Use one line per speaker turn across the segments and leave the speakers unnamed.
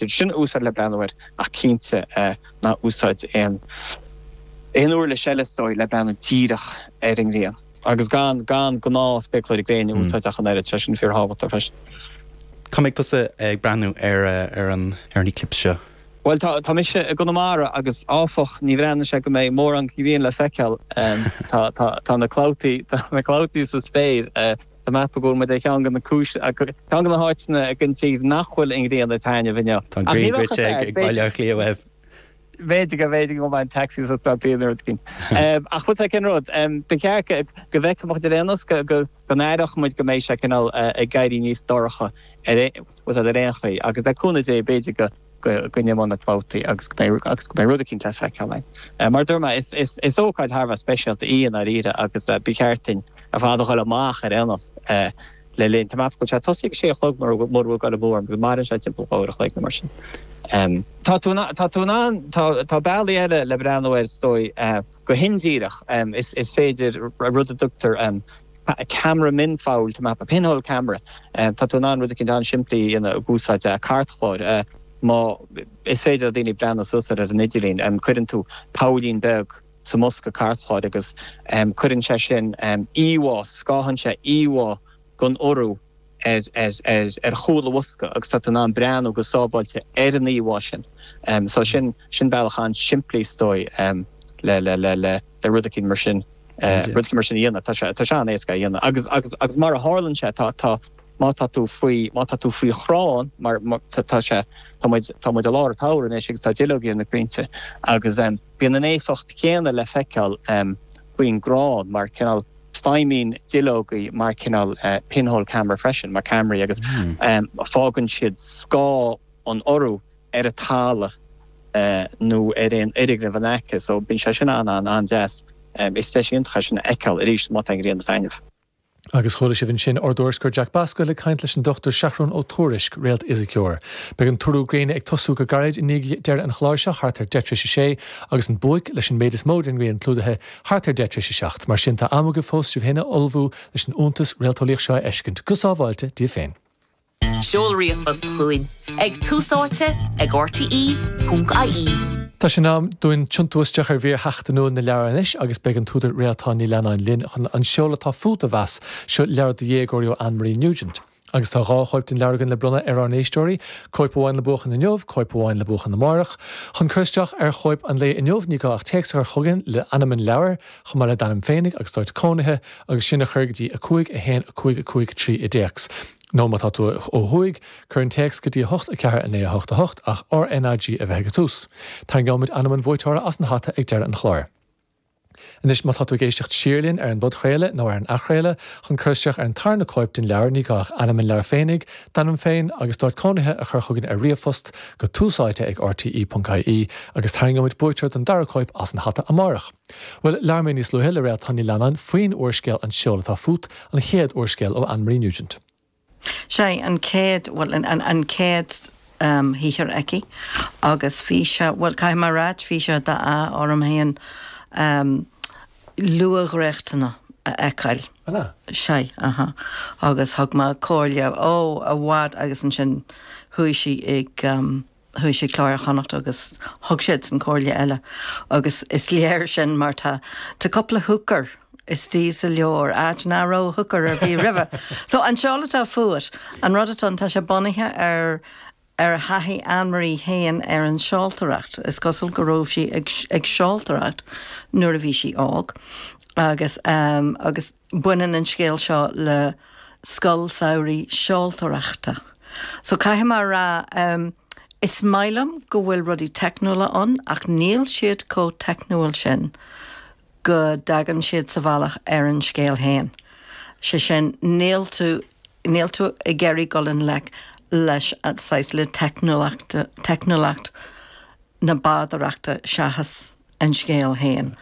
Sin a úsáid le breathnú air ach cinnte ná úsáid aon aon uirlis eile is dóigh le breathnú díreach ar an ngrian. Agus gan gan gnáth spéacláirí gréine a úsáid ach an oiread, sé sin fíorthábhachtach freisin.
Cá mbeidh tusa ag breathnú ar ar an ar an eclipse seo?
Bhuel tá tá mise i gConamara agus áfach ní bhreathnaíonn sé go mbeidh mórán grian le feiceáil. Tá tá tá na clabhtaí tá na clabhtaí sa spéir. Tá mé ag ceapadh go bhfuil muid ar cheann de na cúis, ceann de na háiteanna den tír nach bhfuil an ghrian ag taitneamh inniu.
Tá an ghrian goidte ag Baile Átha Cliath uaibh.
B'fhéidir go, b'fhéidir go mbeidh an taxi sa stop nó rud éigin. Ach bhfuil sé cén rud, ba cheart go bhfeicfeadh muid ar aon nós, go n-aireodh muid go mbeidh sé cineál ag éirí níos dorcha ar aon chaoi agus le cúnamh Dé b'fhéidir go go n-imeoidh na clabhtaí agus go mbeidh agus go mbeidh rud eicínt le feiceáil ann. Mar a dúirt mé, is is is ócáid thar a bheith speisialta í i ndáiríre agus ba cheart duinn ar fad a dhul amach ar aon nós le linn, tá mé ag ceapadh go bhfuil sé ag tosaí ag a sé a chlog mura mura bhfuil ag dul amú orm agus maireann sé timpeall 2 uair a chloig nó mar sin. Tá tú tá tú in ann tá tá bealaí eile le breathnú air is dóigh go hindíreach. Is is féidir rud a dtugtar ceamara mionpholl, tá mé ag ceapadh, pinhole camera. Tá tú in ann rud eicínt an-simplí a dhéanamh ag úsáid cairtchláir. Má, is féidir le daoine breathnú suas air ar an idirlíon. Cuireann tú poillín beag sa mbosca cairtchláir agus cuireann sé sin íomhá, scáthann sé íomhá den urú ar ar chúl an bhosca agus tá tú in ann breathnú go sábháilte ar an íomhá sin. So sin, sin bealach an-simplí is dóigh le le le le rud eicínt mar sin. rud eicínt mar sin a dhéanamh. Tá sé, tá sé an-éasca a dhéanamh. Agus, agus, agus mar a tharlaíonn sé, tá, tá, má tá tú faoi, má tá tú faoi chrann, mar, mar, tá, tá sé, tá muid, tá muid i lár an tsamhraidh anois agus tá duilleogaí ar na crainnte agus bíonn an éifeacht chéanna le feiceáil faoin gcrann mar cineál, feidhmíonn duilleogaí mar cineál pinhole camera freisin, mar ceamaraí agus fágann siad scáth an urú ar an talamh nó ar aon fhoirgneamh in aice so bíonn sé sin an-an-an-deas. Is deis iontach é sin a fheiceáil arís má tá an ghrian ag taitneamh.
Agus chuala sibh ansin ár dtuairisceoir Jack Basquel ag caint leis an Dr Seathrún Ó Tuairisg, réaltfhisiceoir. Beidh an t-urú gréine ag tosú go gairid i ndiaidh deireadh an chláir seo, thart ar deich tar éis a sé, agus an buaic, leis an méid is mó den ghrian clúdaithe, thart ar deich tar éis a 7. Mar sin tá am agaibh fós sibh féin a ullmhú leis an iontas réalteolaíoch seo a fheiscint, go sábháilte, daoibh féin.
Seol ríomhphost chugainn ag túsáite ag rte.ie.
Tá sé in am dúinn tiontú isteach ar mhír sheachtainiúil na leabhar anois agus beidh an t-údar Réaltán Ní Leannáin linn chun An Seol Atá Fút a mheas. Seo leabhar do dhéagóirí ó Anne-Marie Nugent. Agus tá 2 chóip den leabhar againn le bronnadh ar ár n-éisteoirí, cóip amháin le buachan inniu, cóip amháin le buachan amárach. Chun cur isteach ar chóip an lae inniu ní gá ach téacs a chur chugainn le ainm an leabhair, chomh maith le d'ainm féinig agus d'áit cónaithe, agus sin a chur go dtí 5 1 5 5 3 i dtéacs. Nó má tá tú ó thuaidh, cuir an téacs go dtí 8 4 9 8 8 ach RnaG a bheith ag an tús. Tarraingeoimid ainm an bhuaiteora as an hata ag deireadh an chláir. Anois má tá tú ag éisteacht siar linn ar an bpodchraoladh nó ar an athchraoladh, chun cur isteach ar an tarna cóip den leabhar ní gá ach ainm an leabhair féinig, d'ainm féin agus d'áit cónaithe a chur chugainn ar ríomhphost go túsáite ag rte.ie agus tarraingeoimid buaiteoir don dara cóip as an hata amárach. Bhuel, labhair mé níos luaithe le Réaltán Ní Leannáin faoin úrscéal An Seol Atá Fút, an chéad úrscéal ó Anne-Marie Nugent.
Sé an chéad, bhuel, an chéad shaothar aici agus bhí sé, bhuel, caithfidh mé a ráit, bhí sé d'ádh orm féin luathdhréachtanna a fheiceáil.
An ea?
Sea, aha. Agus thug mé comhairle, ó, i bhfad agus ansin chuaigh sí ag, Chuaigh sí Clár Chonnacht agus thug siadsan comhairle eile agus is léir sin mar tá tá cúpla hooker istigh sa leabhar, áit nach raibh hooker ar bith roimhe. So An Seol Atá Fút, an rud atá ann, tá sé bunaithe ar ar thaithí Anne-Marie féin ar an seoltóireacht. Is cosúil go raibh sí ag ag seoltóireacht nuair a bhí sí óg agus agus baineann an scéal seo le scoil samhraidh seoltóireachta. So caithfidh mé a rá, is maith liom go bhfuil rudaí teicniúla ann ach níl siad chomh teicniúil sin go dtagann siad sa bhealach ar an scéal féin. Sé sin, níl tú, níl tú ag iarraidh dul i ngleic leis an saghas, le teicniúlacht, teicniúlacht na bádóireachta seachas an scéal féin.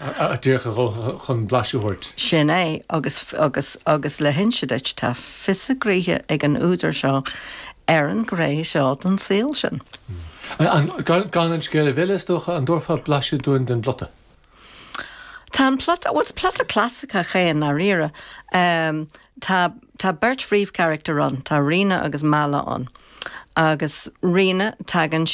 Díreach a dhóthain chun blaiseadh a thabhairt.
Sin é, agus, agus, agus le hinse duit, tá fios a gnoithe ag an údar seo ar an ghné seo den saol sin.
An, gan, gan an scéal a mhilleadh, is dócha, an dtabharfá blaiseadh dúinn den bplota?
Tá an plota, bhuel, is plota clasaiceach é i ndáiríre. Tá, tá beirt phríomhcharachtar ann, tá Ríona agus Mala ann. Agus Ríona, tagann.